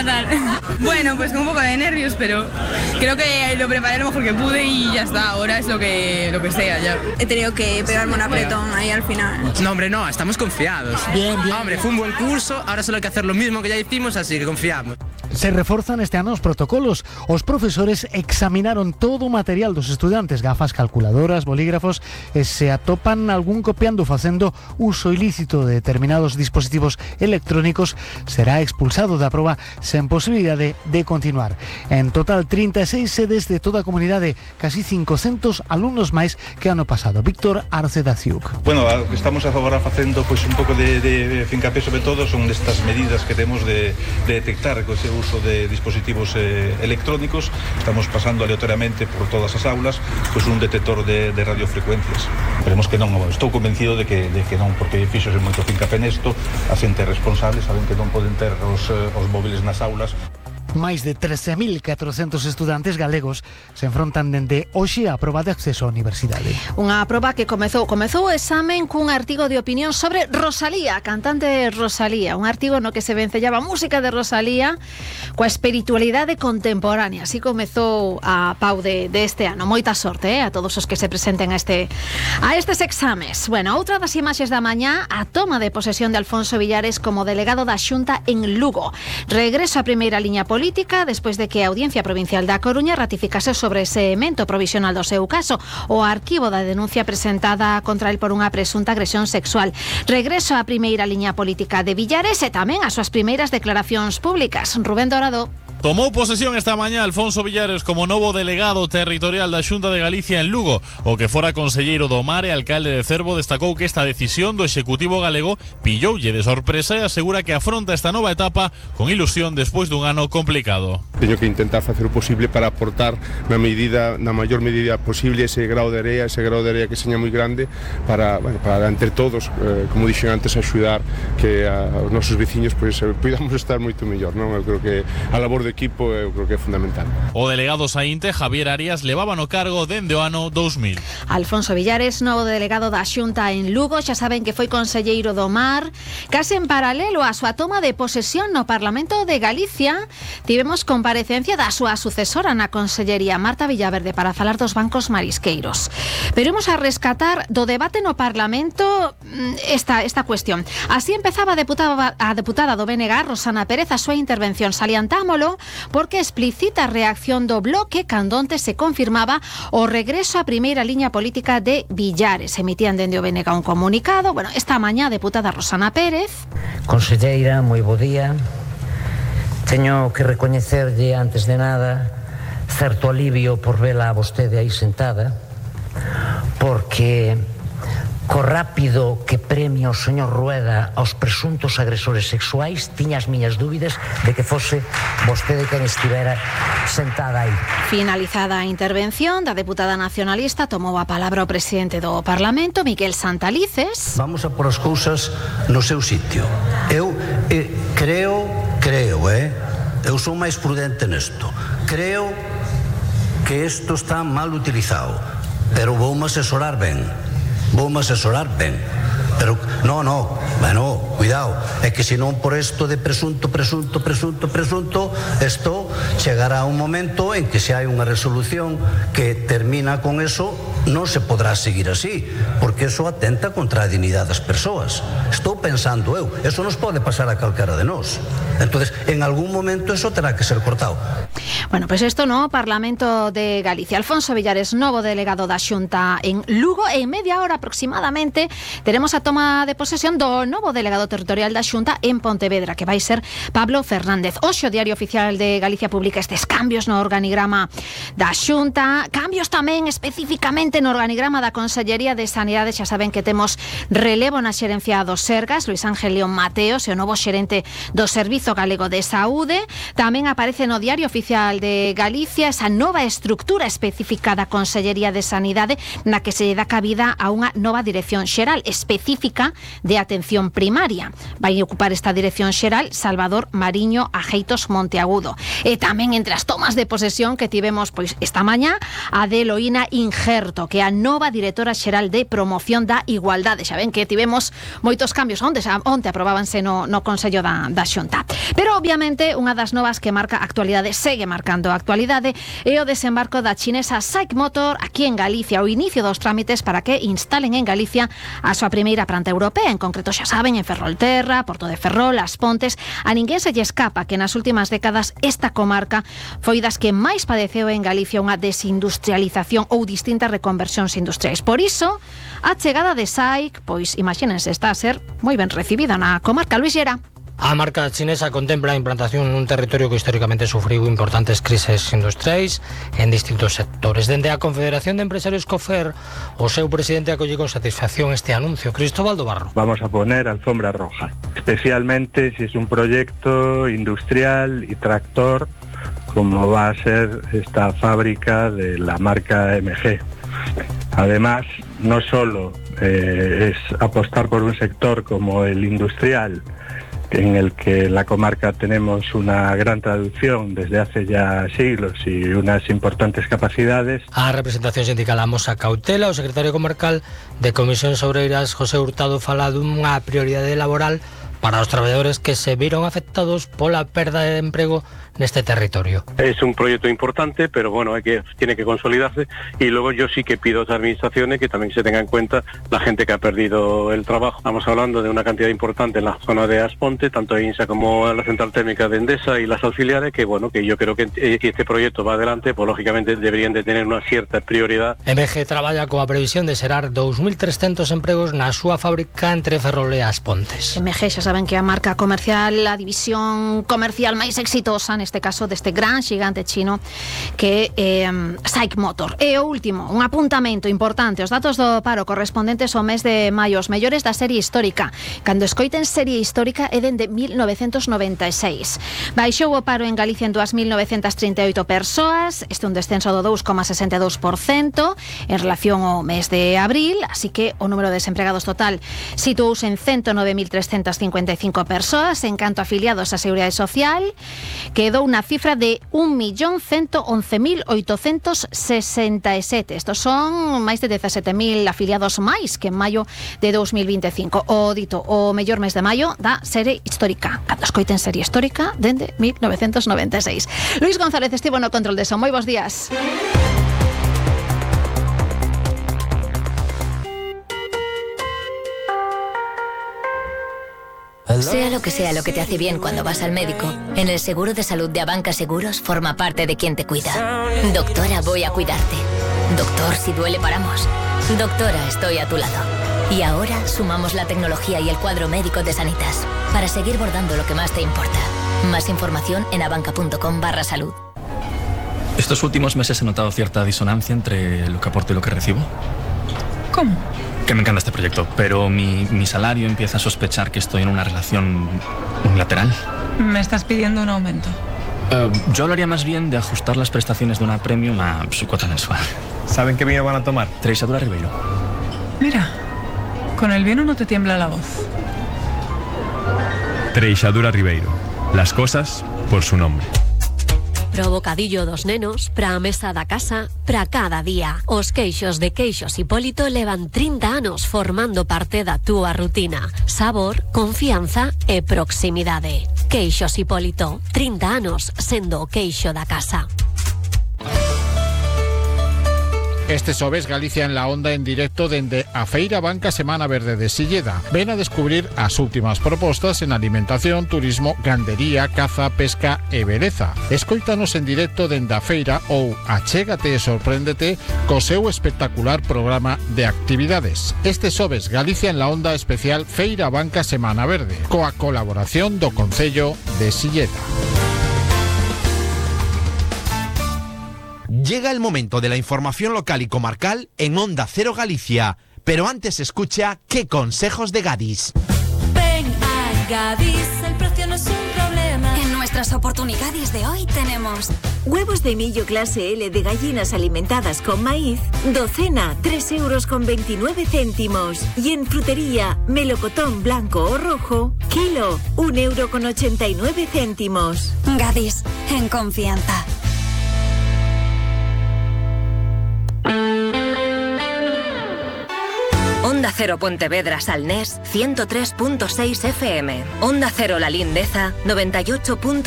tal? Bueno, pues con un poco de nervios, pero creo que lo preparé lo mejor que pude y ya está, ahora es lo que sea ya. He tenido que pegarme un apretón ahí al final. No, hombre, no, estamos confiados. Bien. Hombre, fue un buen curso, ahora solo hay que hacer lo mismo que ya hicimos, así que confiamos. Se reforzan este ano os protocolos. Os profesores examinaron todo o material dos estudantes, gafas, calculadoras, bolígrafos, e se atopan algún copiando facendo uso ilícito de determinados dispositivos electrónicos, será expulsado da proba sen posibilidade de continuar. En total, 36 sedes de toda a comunidade, casi 500 alumnos máis que ano pasado. Víctor Arce da Ciuc. Bueno, o que estamos agora facendo pois un pouco de fincapé sobre todo son destas medidas que temos de detectar co ese uso de dispositivos electrónicos. Estamos pasando aleatoriamente por todas as aulas pois un detector de radiofrecuencias. Esperemos que non, estou convencido de que non, porque fixose moito fincapé nesto, a xente responsable saben que non poden ter os móviles nas aulas. Máis de 13.400 estudantes galegos se enfrontan dende hoxe á proba de acceso á universidade. Unha proba que comezou o examen cun artigo de opinión sobre Rosalía, cantante Rosalía, un artigo no que se vencellaba a música de Rosalía coa espiritualidade contemporánea. Así comezou a pau de este ano. Moita sorte a todos os que se presenten a estes exames. Bueno, outra das imaxes da mañá, a toma de posesión de Alfonso Villares como delegado da Xunta en Lugo. Regreso á primeira liña política despois de que a Audiencia Provincial da Coruña ratificase sobre ese emento provisional do seu caso o arquivo da denuncia presentada contra el por unha presunta agresión sexual. Regreso á primeira liña política de Villares e tamén as súas primeiras declaracións públicas. Rubén Dorado. Tomou posesión esta mañá Alfonso Villares como novo delegado territorial da Xunta de Galicia en Lugo. O que fora conselleiro do Mar e alcalde de Cervo destacou que esta decisión do Executivo galego pilloulle de sorpresa e asegura que afronta esta nova etapa con ilusión despois dun ano complicado. Teño que intentar facer o posible para aportar na maior medida posible ese grao de area que seña moi grande para entre todos, como dixen antes, axudar que os nosos veciños podamos estar moito mellor, non? Eu creo que a labor do equipo eu creo que é fundamental. O delegado saínte, Javier Arias, levaba no cargo dende o ano 2000. Alfonso Villares, novo delegado da Xunta en Lugo, xa saben que foi conselleiro do Mar. Case en paralelo á súa toma de posesión no Parlamento de Galicia, tivemos comparecencia da súa sucesora na Consellería, Marta Villaverde, para falar dos bancos marisqueiros. Pero imos a rescatar do debate no Parlamento esta cuestión. Así empezaba a deputada do BNG, Rosana Pérez, a súa intervención. Salientámolo porque explicita a reacción do Bloque cando onte se confirmaba o regreso á primeira liña política de Villares. Emitían dende o BNG un comunicado. Bueno, esta mañá a deputada Rosana Pérez. Conselleira, moi bo día. Teño que recoñecerlle antes de nada certo alivio por vela a vostede aí sentada, porque co rápido que premia o señor Rueda aos presuntos agresores sexuais, tiña as miñas dúbidas de que fose vostede quen estivera sentada aí. Finalizada a intervención da deputada nacionalista, tomou a palabra o presidente do Parlamento, Miguel Santalices. Vamos a por as cousas no seu sitio. Eu creo, eu sou máis prudente nesto. Creo que isto está mal utilizado, pero voume asesorar ben. Pero bueno, cuidado, é que senón por isto de presunto, isto chegará un momento en que se hai unha resolución que termina con eso, non se podrá seguir así, porque eso atenta contra a dignidade das persoas. Estou pensando eso nos pode pasar a calquera de nós. Entonces, en algún momento eso terá que ser cortado. Bueno, pues esto no, Parlamento de Galicia. Alfonso Villares, novo delegado da Xunta en Lugo, e en media hora aproximadamente teremos a toma de posesión do novo delegado territorial da Xunta en Pontevedra, que vai ser Pablo Fernández. Hoxe o Diario Oficial de Galicia publica estes cambios no organigrama da Xunta, cambios tamén especificamente no organigrama da Consellería de Sanidade. Xa saben que temos relevo na xerencia dos Sergas, Luis Ángel León Mateos, e o novo xerente do Servizo Galego de Saúde. Tamén aparece no Diario Oficial de Galicia esa nova estructura específica da Consellería de Sanidade, na que se lle dá cabida a unha nova dirección xeral específica de atención primaria. Vai ocupar esta dirección xeral Salvador Mariño Ajeitos Monteagudo. E tamén entre as tomas de posesión que tivemos esta mañá, a de Eloína Injerto, Soto, que é a nova directora xeral de promoción da igualdade. Xa ven que tivemos moitos cambios onte aprobábanse no Consello da Xunta. Pero obviamente unha das novas que marca a actualidade, segue marcando a actualidade, é o desembarco da chinesa SAIC Motor aquí en Galicia, o inicio dos trámites para que instalen en Galicia a súa primeira planta europea, en concreto xa saben, en Ferrolterra, Porto de Ferrol, As Pontes. A ninguén se lle escapa que nas últimas décadas esta comarca foi das que máis padeceu en Galicia unha desindustrialización ou distintas reconversións industriais. Por iso, a chegada de SAIC, pois imagínense, está a ser moi ben recibida na comarca. Luis Llera. A marca chinesa contempla a implantación nun territorio que históricamente sufriu importantes crises industriais en distintos sectores. Dende a Confederación de Empresarios COFER, o seu presidente acolle con satisfacción este anuncio. Cristóbal do Barro. Vamos a poner alfombra roja, especialmente si es un proyecto industrial y tractor como va a ser esta fábrica de la marca MG. Además, no solo es apostar por un sector como el industrial, en el que en la comarca tenemos una gran traducción desde hace ya siglos y unas importantes capacidades. A representación sindical amosa cautela. O secretario comarcal de Comisións Obreiras, José Hurtado, fala dunha prioridade laboral para os traballadores que se viron afectados pola perda de emprego neste territorio. Es un proyecto importante, pero bueno, tiene que consolidarse, y luego yo sí que pido a las administraciones que también se tenga en cuenta la gente que ha perdido el trabajo. Estamos hablando de una cantidad importante en la zona de As Pontes, tanto en INSA como en la central térmica de Endesa y las auxiliares, que bueno, que yo creo que este proyecto va adelante, pues lógicamente deberían de tener una cierta prioridad. MG traballa coa previsión de xerar 2.300 empregos na súa fábrica entre Ferrol e As Pontes. MG xa saben que a marca comercial, a división comercial máis exitosa neste caso deste gran xigante chino que é SAIC Motor. E o último, un apuntamento importante, os datos do paro correspondentes ao mes de maio, os mellores da serie histórica. Cando escoiten serie histórica é dende 1996. Baixou o paro en Galicia en 2.938 persoas, este é un descenso do 2,62% en relación ao mes de abril, así que o número de desempregados total situouse en 109.355 persoas. En canto a afiliados á Seguridade Social, quedou unha cifra de 1.111.867. Estos son máis de 17.000 afiliados máis que en maio de 2025. O dito, o mellor mes de maio da serie histórica. Cando escoiten serie histórica, dende 1996. Luis González estivo no control de son. Moi bons días. Sea lo que te hace bien cuando vas al médico, en el seguro de salud de Abanca Seguros forma parte de quien te cuida. Doctora, voy a cuidarte. Doctor, si duele paramos. Doctora, estoy a tu lado. Y ahora sumamos la tecnología y el cuadro médico de Sanitas para seguir bordando lo que más te importa. Más información en abanca.com/salud. Estos últimos meses he notado cierta disonancia entre lo que aporto y lo que recibo. ¿Cómo? Que me encanta este proyecto, pero mi salario empieza a sospechar que estoy en una relación unilateral. Me estás pidiendo un aumento. Yo hablaría más bien de ajustar las prestaciones de una premium a su cuota mensual. ¿Saben qué vino van a tomar? Treixadura Ribeiro. Mira, con el vino no te tiembla la voz. Treixadura Ribeiro. Las cosas por su nombre. Pro bocadillo dos nenos, pra mesa da casa, pra cada día. Os queixos de Queixos Hipólito levan 30 anos formando parte da túa rutina. Sabor, confianza e proximidade. Queixos Hipólito, 30 anos sendo o queixo da casa. Este xoves Galicia en la Onda en directo dende a Feira Banca Semana Verde de Silleda. Ven a descubrir as últimas propostas en alimentación, turismo, gandería, caza, pesca e beleza. Escoítanos en directo dende a feira ou achégate e sorpréndete co seu espectacular programa de actividades. Este xoves Galicia en la Onda especial Feira Banca Semana Verde, coa colaboración do Concello de Silleda. Llega el momento de la información local y comarcal en Onda Cero Galicia, pero antes escucha qué consejos de Gadis. Ven a Gadis, el precio no es un problema. En nuestras oportunidades de hoy tenemos huevos de millo clase L de gallinas alimentadas con maíz, docena 3,29 €. Y en frutería, melocotón blanco o rojo, kilo 1,89 €. Gadis, en confianza. Onda Cero Pontevedra Salnés 103.6 FM. Onda Cero La Lindeza 98.2